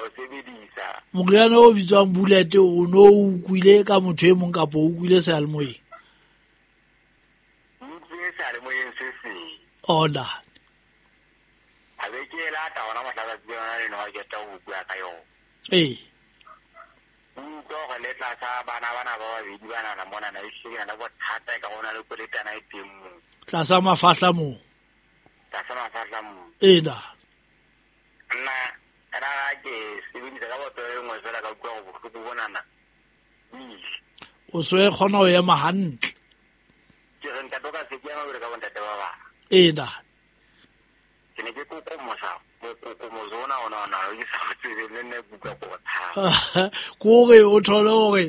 o sebedisa. Moriana o bitswang bullet o no o utlwile ka motho e mong kapa o utlwile seyalemoyeng? Ke utlwile seyalemoyeng se seng. Ona. A be ke e lata hona mohla tsatsi lena leno ha ke qeta ho bua ka yona. Ee. Ke utlwa hore le tlasa bana bana ba babedi banana monana ehlile ke na le bothata e ka ho na le kweletana e teng moo. Tlasa mafahla moo. Tlasa mafahla moo. Ee na. Nna ra ga ke sebedisa ka botlolo e nngwe fela ka utlwa gore bohloko bonana bo ile. O so e kgona ho ema hantle. Ke re ntate o ka se ke ema jwalo ka bontate ba bang. Ee na. Ke ne ke kokomosa mokokomoso ona ona ona o ke sa o tsebeng le nna ke utlwa ko o tshaba. Kore o thole hore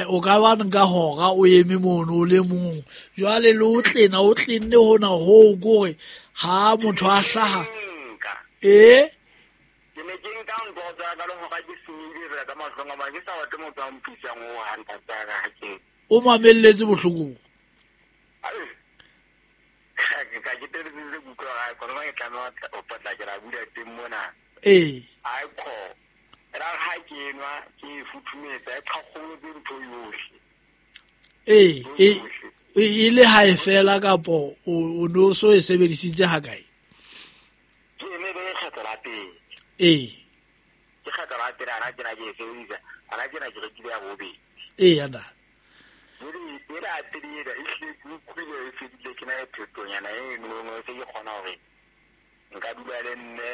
o ka ba nka hora o eme mono o le mong. Jwale le o tlena o tlenne hona hoo kore ha motho a hlaha. Nka. Ee? Ke ne ke nka ntho tsa ka le hora ke senyehile fela ka mahlong a mang ke sa batle motho a mpisang ho hang ntate wa ka ha ke. O mamelletse bohloko. Ai. Ka ke teletsitse ke utlwa hore kono ke tlameha ho potlakela bula teng mona. Ee. Ai kho. Ra ha ke nwa ke e futhumetsa e qhaqholotse ntho yohle. Ee, e le ha e fela kapo o no so e sebedisitse ha kae? Ke ne le kgetlo la pele. Ee. Ke kgetlo la pele ana ke na ke e sebedisa, ana ke na ke rekile ya bobedi. Ee, ana. Jwale ela ya pele ena e hlile ke utlwile e fedile ke na le phetonyana e nngwe e se ke kgona hore nka dula le mme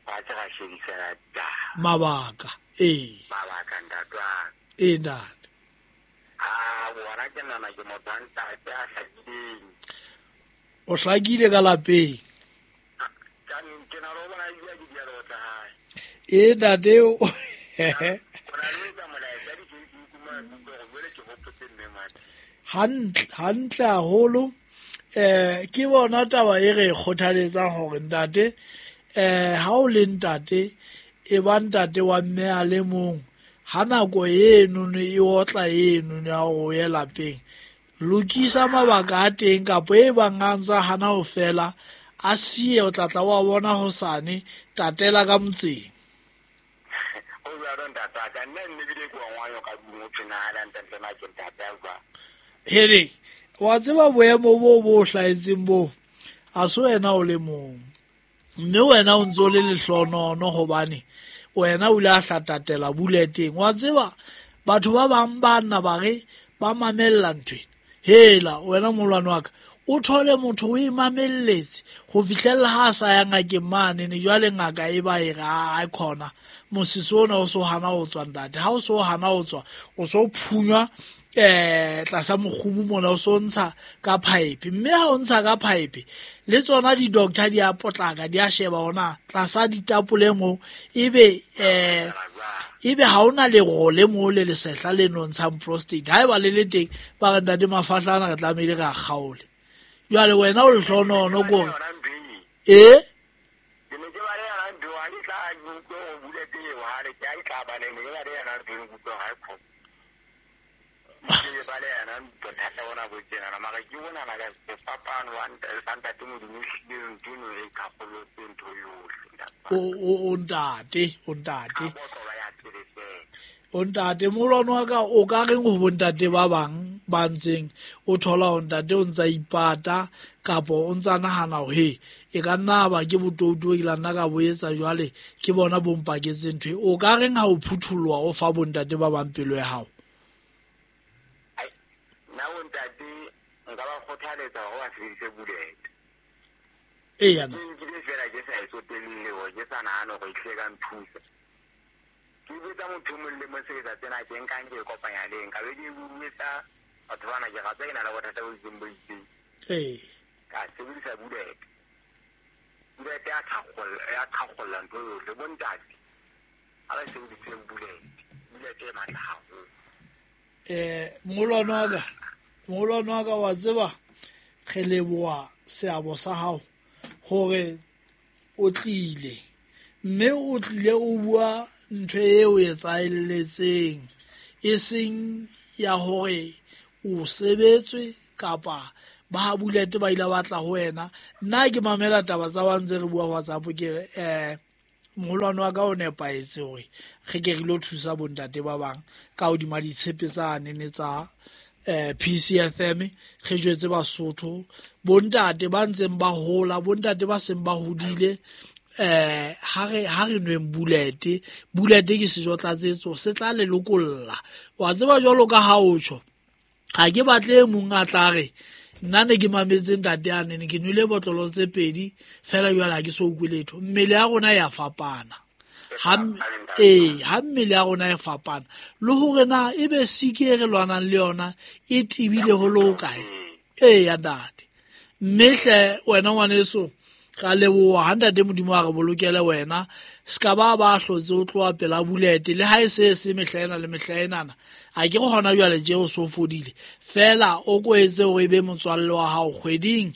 fatshe ra shebisana ditaba. Mabaka, ee. Mabaka ntate wa ka. Ee, ntate. Ah, bona ke nahana ke motho wa ntate a hlakileng. O hlakile ka lapeng. Ka ke na le ho bona ebile ke dia le ho tla hae. Ee, ntate o. O na le ho etsa molaetsa di-Facebook mona ke utlwe hore jwale ke hopotse mme mane. Hantle, hantle haholo. Ke bona taba e re kgothaletsang hore ntate, ha o le ntate, e ba ntate wa mme a le mong. Ha nako eno e otla eno ya hore o ye lapeng, lokisa mabaka a teng kapa e bang a ntsa hana ho fela, a siye o tla tla wa bona hosane, tatela ka motseng. O jwalo ntate wa ka, nna nne ebile ke wa ngwanyo ka tlung ho thwe na le ntate na ke ntate a jwang. Hele, wa tseba boemo bo bo hlahetseng bo, ha se wena o le mong. Mme wena o ntso le lehlonono hobane wena o ile a hlatatela buleteng. Wa tseba batho ba bang ba nna ba re ba mamella ntho ena. Hela wena molwane wa ka, o thole motho o e mamelletse ho fihlella ha a sa ya ngakeng mane ne jwale ngaka e ba e re a khona mosese ona o so hana ho tswa ntate. Ha o so hana ho tswa, o so phunywa tlasa mokgubu mona o so ntsha ka pipe. Mme ha o ntsha ka pipe le tsona di-doctor di a potlaka di a sheba hona tlasa ditapole moo, ebe ebe ha ona lerole moo le lesehla le no ntshang prostate. Haeba le le teng ba re ntate mafahla ana re tlamehile re a kgaole. Jwale wena o lehlonono kore ee Ke ne ke ba le yona ntho ha ke tla ke utlwe ho bula teng hale ke ha ke tla ba le ne ke ba le yona ntho ke utlwe ha e khona. Ke ba le yona bothata bona bo tjenana mara ke bonana ka sefapano wa sa ntate Modimo ehlile ntho eno e qhaqhollotse ntho yohle ntate. O ntate, o ntate. Ka botlolo ya pele fela. O ntate, molwane wa ka o ka reng ho bontate ba bang ba ntseng o thola hore ntate o ntsa ipata kapa o ntsa nahana hore he e ka nna ba ke botoutu bo ke la nna ka bo etsa jwale ke bona bo mpaketseng ntho e. O ka reng ha o phuthuloha o fa bontate ba bang pelo ya hao? Ai, nna bontate nka ba kgothaletsa hore ba sebedise bullet. Ee, yana. Ke nkile fela ke sa e tsotelle hore ke sa nahane hore e tlile ka nthusa. Ke botsa motho mong le mong sebetsa tsena ke nkang ke e kopanya le eng. Ka be ke bua batho bana ke rata ke na le bothata bo itseng bo itseng. Ee. Ka sebedisa bullet. Bullet ya qhaqholla ntho yohle. Bontate ha ba sebediseng bullet. Bullet e matla haholo. Molwane wa ka wa tseba re leboha seabo sa hao hore o tlile. Mme o tlile o bua ntho eo e etsaheletseng e seng ya hore o sebetswe kapa ba ha bullet ba ile ba tla ho wena. Nna ke mamela taba tsa ba ntse re bua WhatsApp ke re Moholwane wa ka o nepahetse hore re ke re lo thusa bontate ba bang ka hodima ditshepe tsa nene tsa PCFM. Re jwetse Basotho, bontate ba ntseng ba hola, bontate ba seng ba hodile, ha re nweng bulete. Bulete ke sejo tlatsetso, se tla le lokolla. Wa tseba jwalo ka ha o tjho, ga ke batle e mong a tla re nna ne ke mametse ntate a nene, ke nwele botlolo tse pedi fela, jwale ha ke so ukwe letho. Mmele ya rona ya fapana. Ha mmele ya rona e fapana, le hore na ebe siki e re lwanang le yona e tebile ho le ho kae. Eya ntate, mme hle wena ngwaneso, ra leboha ha ntate Modimo a re bolokele wena. Se ka ba ba hlotse o tloha pela bulete, le ha e se se mehla ena le mehla enana. A ke re hona jwale tje o so fodile fela, o ko etse hore e be motswalle wa hao kgweding.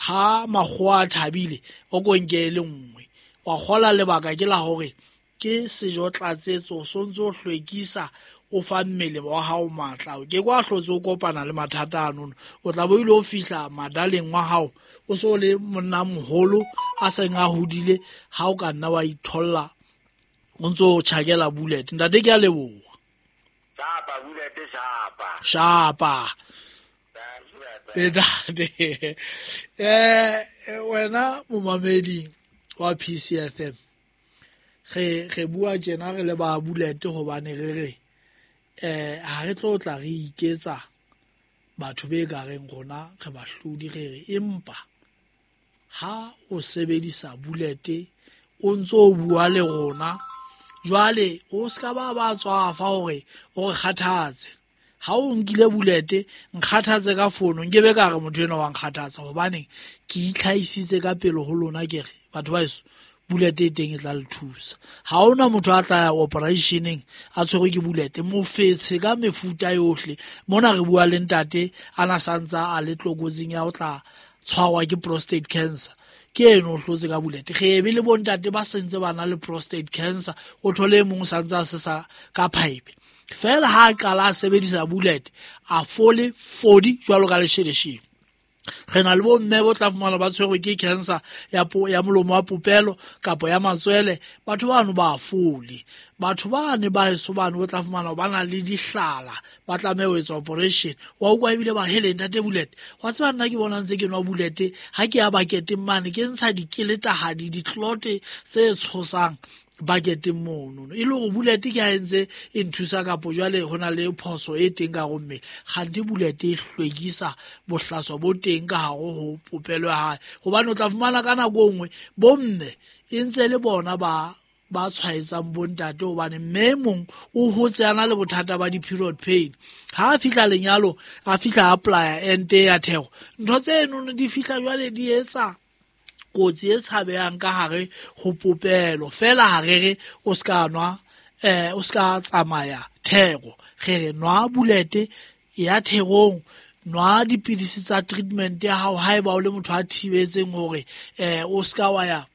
Ha makgowa a thabile, o ko nke e le nngwe wa kgola. Lebaka ke la hore ke sejo tlatsetso, so ntso hlwekisa, o fa mmele wa hao matla. Ke kwa hlotse o kopana le mathata anono, o tla bo ile o fihla madaleng wa hao o so le monna moholo a seng a hodile. Ha o ka nna wa itholla o ntso o tjhakela bullet. Ntate, ke a leboha. Shapa bullet, shapa. Shapa. Ntate, wena momamedi wa PCFM, re bua tjena re le ba bullet hobane re re ha re tlo tla re iketsa batho be ka reng rona re bahlodi. Re re empa ha o sebedisa bulete o ntso o bua le rona jwale, o ska ba ba tswafa hore o re kgathatse. Ha o nkile bulete, nkgathatse ka fono, nkebe ka re motho enwa wa nkgathatsa, hobane ke itlhahisitse ka pele ho lona. Ke re batho ba heso, bulete e teng e tla le thusa. Ha hona motho a tla ya operationeng a tshwerwe ke bulete. Mofetshe ka mefuta yohle mona re bua le ntate a na santsa a le tlokotsing ya ho tla tshwarwa ke prostate cancer, ke eno o hlotse ka bulete. Re ebe le bontate ba sentse ba na le prostate cancer, o thole e mong santse a sesa ka pipe fela, ha a qala a sebedisa bulete a fole fodi jwalo ka lesheleshele. Re na le bomme bo tla fumana ba tshwerwe ke cancer ya molomo wa popelo kapa ya matswele, batho bano ba fole. Batho bane ba heso bane bo tla fumana ba na le dihlala, ba tlameha ho etsa operation. Wa utlwa ebile ba hele ntate bulete, wa tseba nna ke bona ntse ke nwa bulete, ha ke ya baketeng mane ke ntsha dikeletahadi, ditlote tse tshosang baketeng mono, e le hore bulete ke ha e ntse e nthusa, kapo jwale ho na le phoso e teng ka hare ho mmele. Kgante bulete e hlwekisa bohlaswa bo teng ka hare ho popelo ya hae, hobane o tla fumana ka nako e nngwe bomme e ntse le bona ba tshwaetsang bontate, hobane mme e mong o hotse a na le bothata ba di-period pain. Ha a fihla lenyalo, a fihla apply-a ente ya theko, ntho tseno di fihla jwale di etsa kotsi e tshabehang ka hare ho popelo. Fela ha re re o ska nwa, o ska tsamaya theko, re re nwa bulete ya therong, nwa dipidisi tsa treatment ya hao haeba o le motho a thibetseng hore o ska wa ya,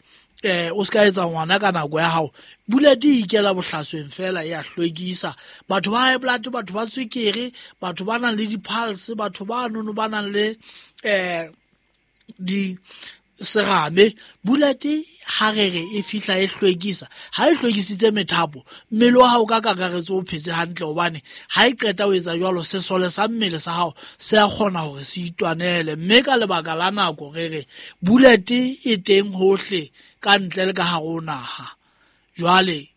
o ska etsa ngwana ka nako ya hao. Bulete e ikela bohlasweng fela, ya hlwekisa batho ba high blood, batho ba tswekere, batho ba nang le di-pulse, batho ba nono ba nang le di serame. Bulete ha re re e fihla e hlwekisa, ha e hlwekisitse methapo, mmele wa hao ka kakaretso o phetse hantle, hobane ha e qeta ho etsa jwalo, sesole sa mmele sa hao se a kgona hore se itwanele. Mme ka lebaka la nako re re bulete e teng hohle ka ntle le ka hare ho naha. Jwale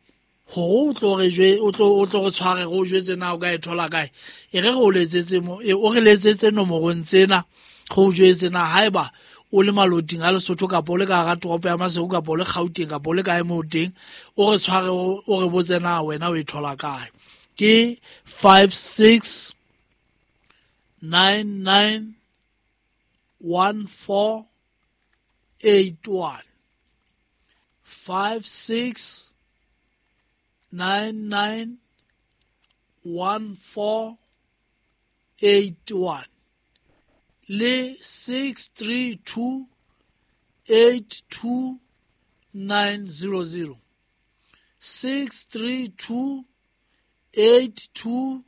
hore o tlo re jwe, o tlo re tshware, re o jwetse na o ka e thola kae, e re re o letsetse mo, o re letsetse nomorong tsena, re o jwetse na haeba o le maloting a Lesotho kapa o le ka hara toropo ya Maseru kapa o le Gauteng kapa o le kae moo teng, o re tshware, o re botse na wena o e thola kae. Ke 5 6 9 9 1 4 8 1, 5 6 9 9 1 4 8 1 le 6 3 2 8 2 9 0 0, 6 3 2 8 2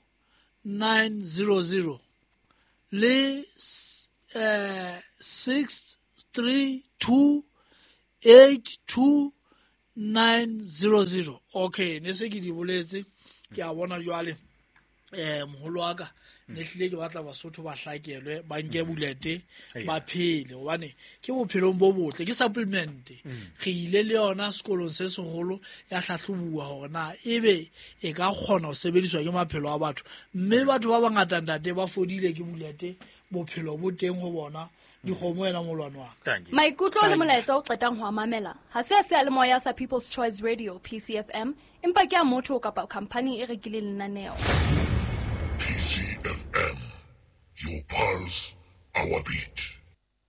9 0 0 le 6 3 2 8 2 900. Okay, ne se ke di boletse, ke a bona jwale. Moholo wa ka, ne hlile ke batla Basotho ba hlakelwe, ba nke bulete, ba phele, hobane ke bophelong bo botle, ke supplement. Re ile le yona sekolong se seholo ya hlahlobuwa hore na ebe e ka kgona ho sebediswa ke maphelo a batho, mme batho ba bangata ntate ba fodile ke bulete, bophelo bo teng ho bona. Dikgomo wena molwane wa ka. Maikutlo le molaetsa o qetang ho a mamela ha se a seyalemoya sa People's Choice Radio PCFM, empa ke a motho kapa khampani e rekileng lenaneo. PCFM, your pulse, our beat.